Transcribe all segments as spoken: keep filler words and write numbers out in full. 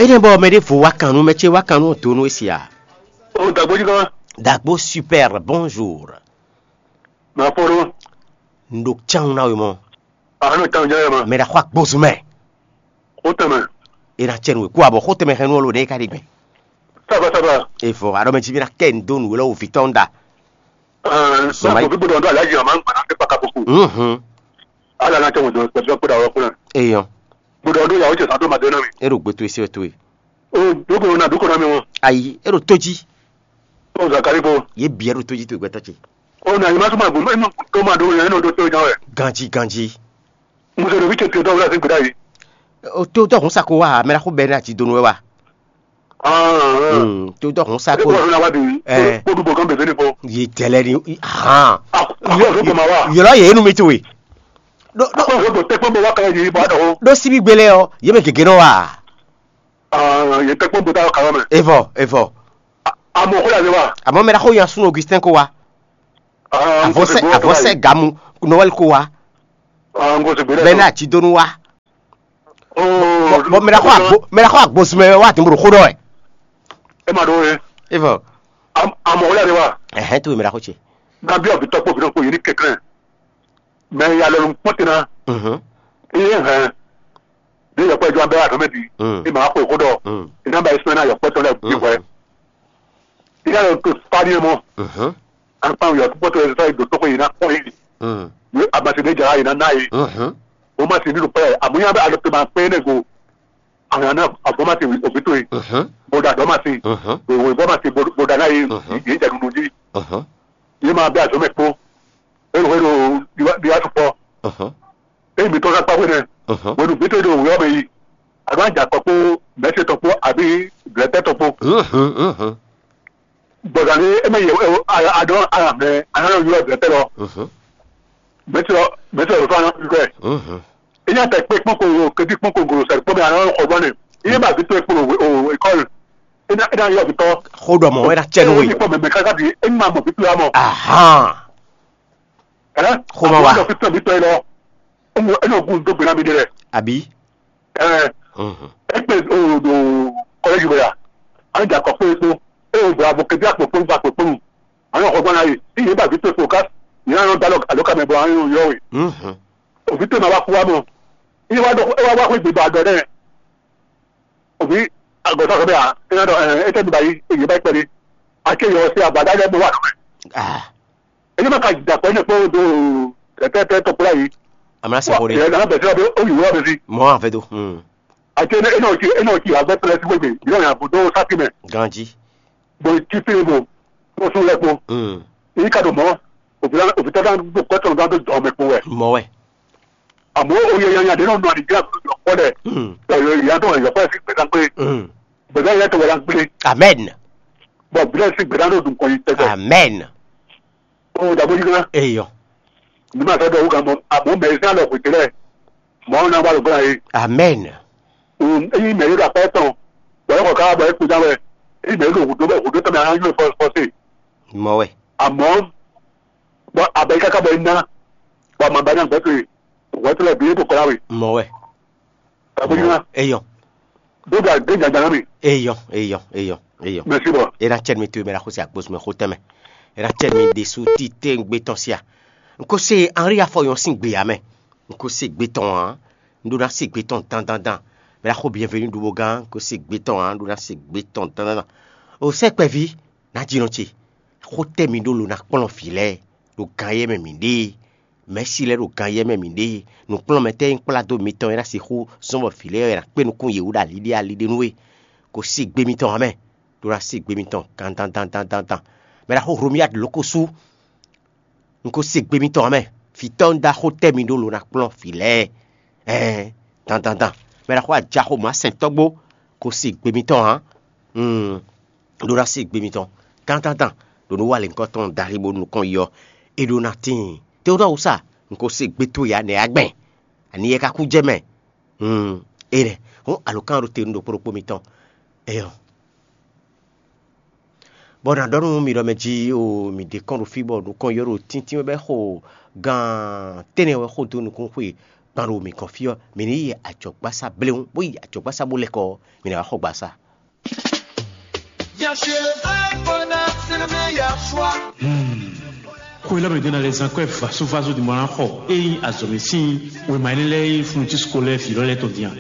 Énɛ́ bɔ mɛ ɖěvo wá kan nú mɛ ce wá kan nú donu e sia. O dagbo jí kan. Dagbo super, bonjour. Ma fɔ ɖo. N ɖo can na we mɔ. A nɔ can jɛ ma. Mɛ ɖa xɔ agbozu mɛ. Xo tɛmɛ. E na cɛ nu we kú abɔ xo tɛmɛ xɛ nu ɔlo ɖe ka ɖi gbɛ. Saba saba. Evɔ aɖɔ mɛ jí mi na kɛ n do nu we lɔ wo vitɔ n da. Ɛɛ, Sɔmai. Sɔmai gbogbo dɔ n do alaji a ma n gbana kɛ kpaka koko. Mhm. Ala na cɛ mo dɔ kpɛtɛ kpɛtɛ awɔ kpɛtɛ. Eyɔn. Gbogbo dɔ n do yawo cɛ san to ma de na mi. E ɖo gbe to esi wɛ to ye. O doko na doko na mi wɔn. Ayi, e ɖo to jí. O zakari ko. Ye biɛ ɖo to jí to gbɛtɔ ce. O na yi ma suma gbɔn ma to ma do yɛn nɔ do to jan wɛ. Ganji ganji. Muso ɖo vi ce to dɔ wla sin gbeda yi. O to dɔ hun sa ko wa mɛ la ko bɛ na ti donu wɛ wa. Ah. Hmm, to dɔ hun sa E ko. Ko na wa bi. Eh. Ko du bo kan bebe ni ko. Ye tɛlɛ ni. Han. Ah, ko ko ma wa. Yɔlɔ ye enu mi to ye. Do do Ko ko te ko bo wa kan yi ba do. Do sibi gbele o ye mɛ gege nɔ wa. Ah, ye te ko bo ta ka mɛ. Evɔ evɔ. Amo ko la de wa. Àmọ́ mɛ la ko yan sun Augustin ko wa. Ah, Avɔsɛ avɔsɛ gamu Noël ko wa. Ah, ngo se gbele. Bɛnɛ àti donu wa. Oh. Bɔn mɛ la ko agbo mɛ la ko agbo sumɛ wa ti mo ɖo xó ɖɔ ɛ. E ma ɖo ye. Evɔ. Amo ko la de wa. Ɛhɛn to mɛ la ko ce. Na bi ɔbi tɔkpo bi ɖokpo yi ni kɛkɛn. Mɛ ya lɔ nu kpɔnte na. Mhm. Iye hɛn. Bí yɔkpɔ jɔ abɛ adɔmɛ bi. Mm. E ma xo xó ɖɔ. Mm. E na ba ismaɛl na yɔkpɔ tɔ lɛ bi hwɛ. Mm. Iye lɔ to spani mɔ. Mhm. Akpan yɔ kpɔtɔ yɛ sɔ do tɔkɔ yi na kpɔn yi. Mm. Yo abasi de jara yi na na yi. Mhm. O ma si ni do pɛ amuya bɛ alɔ to ma pɛ ne go. Àwọn náà àbọ̀mọ̀sí òbí tó yìí. Mhm. Bọ̀dà àbọ̀mọ̀sí. Mhm. Òwe bọ̀mọ̀sí bọ̀dà náà yìí. Mhm. Yìí jẹ́ nunu jí. Mhm. Yìí máa bẹ àjọ mẹ́ kpó. Èrò èrò bí wàá tún pọ̀. Mhm. Èyí mi tọ́ ká pàwé nẹ. Mhm. Wẹ̀nu bí tó yìí òwe ọmọ yìí. Àbá jà kọ́ kpó mẹ́sẹ̀ tọ́ kpó àbí bẹ̀rẹ̀tẹ̀ tọ́ kpó. Mhm. Mhm. Bọ̀dà ní ẹ mẹ́ yẹ àdán àmẹ́ àná yọ bẹ̀rẹ̀tẹ̀ lọ. Mhm. Mẹ́sẹ̀ lọ mẹ́sẹ̀ lọ fún àná yọ ẹ̀. Mhm. Ina tɛ kpe kpɔn ko kedi kpɔn ko golo sɛ kpɔn mi ana xɔ gbɔn ne. Iye ba vi to ekpo o ekɔl. Ina ina yɔ vitɔ. Xó ɖɔ mɔ̌ wɛ ná cɛ nú we. Ina kpɔn mɛmɛ kaka di ina mɔ vitɔ ya mɔ. Ahan. Ɛ. Xó ma wa. Vitɔ vitɔ yi lɔ. Ɔmɔ ina gun do gbena mi de lɛ. Àbí. Ɛ. Mhm. Ekpe o do kɔlɛji bɛ ya. Ani da kɔ kpe kpo. E o do abo kedi akpo kpo ba kpo kpo. Ana xɔ gbɔn na yi. Iye ba vitɔ ekpo ka. Ina nɔ da lɔ alo ka mɛ bɔ ani yɔ we. Mhm. Òbí tó ma wá kú wá mɔ. Iye wá dɔ ẹ wá wá xwé gbèdó àgọ́ dɛ. Òbí àgọ́ sọ̀rọ̀ bẹ́ẹ̀ à ẹ náà dọ̀ ẹ ẹ tẹ́ mi báyìí èyí bá pẹ̀lú. Àti èyí ọ̀sẹ̀ àbàdá yẹn mo wà lọ́mọ. Ah, Ẹni máa ka jìjà pẹ̀lú ẹ̀ pé ó do tẹ́tẹ́ tọ́kùnrin yìí. Àmọ́ láti kórè. Ẹ náà bẹ̀rẹ̀ sí ọdún ó yìí wọ́n mi sí. Mọ́ àfẹ́ tó. Hmm. Àti ẹ náà ti ẹ náà ti àgbẹ̀ pẹ̀lú ẹ̀ sí gbègbè yóò yàn àbùdó sátìmẹ̀. Ganji. Bó ti fi bò tó sún lẹ́kọ̀ọ́. Hmm. Èyí ká dò mọ́ òbí tọ́jú àdúgbò kọ́tọ̀ náà tó jọ ọmọ ẹ̀kọ́ wẹ̀. Mọ́ wẹ̀. Àmọ́ oyè yanyan dé náà nù àdìgbé àbúrò yọ kọ́ dẹ̀. Hmm. Ẹ̀yọ ìyá tó wà yọ kọ́ ẹ̀ sí gbẹ̀dá pé Hmm. Gbẹ̀dá yẹn tó wà lá gbélé. Amen. Bọ̀ gbẹ̀dá sí gbẹ̀dá náà dùn kọ́ yìí tẹ́tẹ́. Amen. Ó dàbí ojú kan. Eyọ. Ní màá sọ́dọ̀ owó kan mọ́ àmọ́ mẹ́rin sí àlọ́ kò tẹ́lẹ̀. Mọ́ ọ́n náà wà lóògùn àyè. Amen. Eyín mẹ́rin ló àpẹ́ tán. Bọ̀dọ̀ kọ̀ ká bọ̀ ẹ́ kú dáwẹ́. Eyín mẹ́rin ló hùdó bẹ́ẹ̀ hùdó tán mi àwọn yóò fọ́ fọ́ sí. Mọ wẹ. Àmọ́ bọ́ abẹ́yí káká bọ̀ iná. Bọ́ àmọ́ abẹ́yí náà gbẹ́sẹ̀. Wọ́n ti lọ bí ètò kọ́lá wè. Mɔ wɛ. Abójúmọ́. Eyɔ. Dóga dé jàjà náà mi. Eyɔ eyɔ eyɔ eyɔ. Mɛsi bɔ. Ena cɛ mi to mɛ la xo si agbosumɛ xo tɛmɛ. Ena cɛ mi ɖesu ti te ŋgbe tɔn sia. N ko se Henri afɔ yɔn sin gbe ya mɛ. N ko se gbe tɔn hã. N ɖo na se gbe tɔn dandandan. Mɛ la xo bienvenu ɖubo gán. N ko se gbe tɔn hã. N ɖo na se gbe tɔn dandandan. O sɛ kpɛvi. Nǎjínɔ ce, xó tɛ́ mi ɖó lo ná kplɔ́n vǐ lɛ́ɛ ɖo ganyɛ mɛ mǐ ɖe e? Mɛ̌si lɛ́ɛ ɖo ganyɛ mɛ mǐ ɖe e? Nǔkplɔ́nmɛ tɛ́ e un kplá dó mitɔn e ná sixú zɔ́n bɔ vǐ lɛ́ɛ ɔ́ è nǎ kpé nukún yě wú ɖo ali ɖé ali ɖé nú we? Ko sí gbe mitɔn ǎ mɛ, ɖó ná sí gbe mitɔn gandandandandan. Mɛ ná xó Hlomyad lǒ ko sú. Un ko se gbe mitɔn ǎ mɛ. Vǐtɔ́ un dó axó tɛ́ mi ɖó lo ná kplɔ́n vǐ lɛ́ɛ. Ɛɛn, dandandan. Mɛ ná xó ajaxomǎ sɛntɔ́gbó ko se gbe mitɔn ǎ. Un ɖó ná se gbe mitɔn. Dandandan. Ɖo nú wa lěhunkɔtɔn Dali bó nukɔn yi ɔ́, é ɖó ná tíin. Teodɔ́ wúsa, un ko se gbe towe ǎ nɛ̌ á gbɛn? Ani yɛ ka kú jɛ mɛ? Hun, énɛ́ hɔn alǒkan ɖo te nú ɖokpó ɖokpó mitɔn. Eyɔ. Bɔ nǎ ɖɔ nú mi ɖɔ mɛ jí o, mǐ ɖe kɔn ɖo fí bɔ nukɔn yɔ ɖo tíntín wɛ bɔ é xo gan tɛ́nnɛ wɛ xo dó nukún xwe Kpan ɖo mǐ gɔ́n fí ɔ́, mǐ ní yi ajɔ̌gbásá bléwún, bó yi ajɔ̌gbásá bó lɛ́ kɔ ɔ́, mǐ ná wá xɔ gbasá. Bien sûr, le vrai bonheur, c'est le meilleur choix. Xwé lɛ́ mɛ ɖé ná lɛ́ zán kɔ́ ɛ vasovaso ɖi mɔ ná xɔ ényí azɔ̌ mɛ sín wěma énɛ́ lɛ́ɛ e fúnnu cí sukó lɛ́ɛ vǐ lɔ lɛ́ɛ tɔn din a?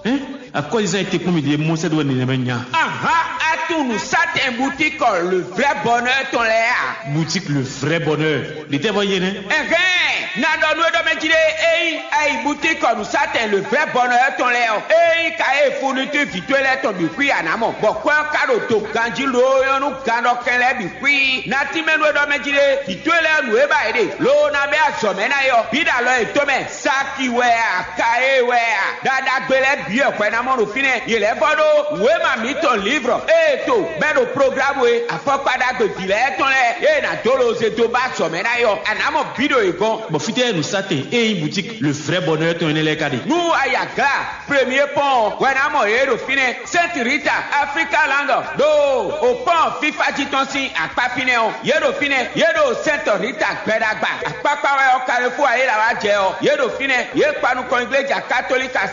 Hɛn, akɔ́zizán e te kpɔ́n mì ɖíe Mɔsɛ́ ɖó wɛ nɛnɛmɛ nya. Aha, atunu satɛn butikɔ le vrai bonheur tɔn lɛ́ɛ a? Boutique le vrai bonheur. Ɖětɛ́ vɔ yé nɛ́? Ɛhɛn, na ɖɔ nú é ɖɔ mɛ jí ɖé, ényí ayi butikɔ nu satɛn le vrai bonheur tɔn lɛ́ɛ ɔ́, ényí ka e fourniture vǐ towe lɛ́ɛ tɔn bǐ xwí a nǎ mɔ, bɔ kwɛ́ ɔ́ ka ɖo do ganjí loo nyɔ́ nú gannɔkɛn lɛ́ɛ bǐ xwí. Na tínmɛ nú é ɖɔ mɛ jí ɖé, vǐ towe lɛ́ɛ nǔ e ba yě ɖe, loo ná bɛ́ azɔ̌ mɛ ná é ɔ́, bǐ ɖo alɔ yětɔn mɛ. Saki wɛ a, ka e wɛ a, ɖaɖagbe lɛ́ɛ bǐ wɛ hwɛ ná mɔ ɖo fínɛ́. Yě lɛ́ vɔ ɖó wěma mǐtɔn livrɔ ée to bɛ́ ɖo programu e afɔkpa ɖagbe vǐ lɛ́ɛ tɔn lɛ́ɛ ée nǎ dó loze dó ba azɔ̌ mɛ ná é ɔ́, a nǎ mɔ bǐ ɖo yě gɔ́n. Bɔ fítɛ́ nǔsatɛn e nyí boutique le vrai bonheur tɔn énɛ́ lɛ́ɛ ka ɖe? Nú a yi Aglá, Premier Pɔ́n ɔ́, hwɛ ná mɔ yě ɖo fínɛ́. Sainte Rita, Africa Land, ɖo òpɔ́n fífá jí tɔn sín akpá fínɛ́ ɔ́, yě ɖo fínɛ́, yě ɖo Sainte Rita gbɛɖagba. Akpákpá wɛ ɔ́, Carrefour ayéla wá jɛ ɔ́, yě ɖo fínɛ́, yě kpa nukɔn igleja katolika